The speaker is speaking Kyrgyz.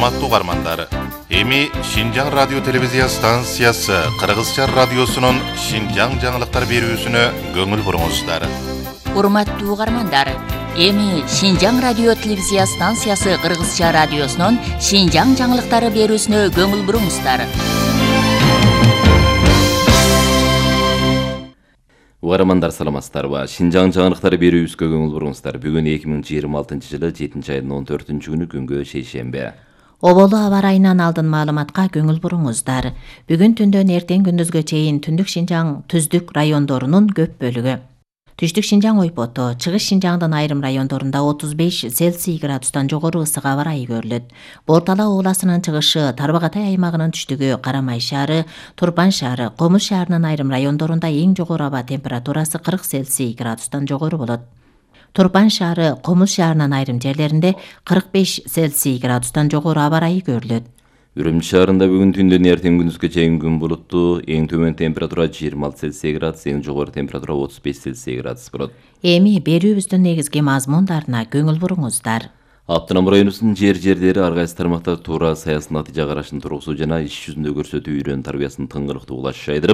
Урматтуу угармандар, эми Шинжаң радио телевизия станциясы Кыргызча радиосунун Шинжаң жаңылыктар берүүсүнө көңүл буруңуздар. Урматтуу угармандар, эми Шинжаң радио телевизия станциясы Кыргызча радиосунун Шинжаң жаңылыктары берүүсүнө көңүл буруңуздар. Угармандар саламатсыздарбы? Шинжаң жаңылыктары берүүбүзгө көңүл буруңуздар. Бүгүн 2026-жылы 7-айдын 14-күнү күнгө шейшембе. Оболу аба ырайынан алдын маалыматка көңүл буруңуздар. Бүгүн түндөн эртең күндүзгө чейин Түндүк Шинжаң түздүк райондорунун көп бөлүгү, Түштүк Шинжаң ойпоту, Чыгыш Шинжаңдын айрым райондорунда 35 Цельсий градустан жогору ысык аба ырайы көрүлөт. Бортала ууласынын чыгышы, Тарбагатай аймагынын түштүгү, Карамай шаары, Турпан шаары, Комуз шаарынын айрым райондорунда эң жогору аба температурасы 40 Цельсий градустан жогору болот. Турпан шаары, Комуз шаарынын айрым жерлеринде 45 Цельсий градустан жогору аба ырайы көрүлөт. Үрүмчү шаарында бүгүн түндөн эртең күндүзгө чейин күн булуттуу, эң төмөн температура 26 Цельсий градус, эң жогору температура 35 Цельсий градус болот. Эми берүүбүздүн негизги мазмундарына көңүл буруңуздар. Автономдун районубуздун жер-жерлери ар кайсы тармактар туура саясий натыйжа карашын тургузуу жана иш жүзүндө көрсөтүү үйрөнүү тарбиясынын тыңгылыктуу улашы жайдырып,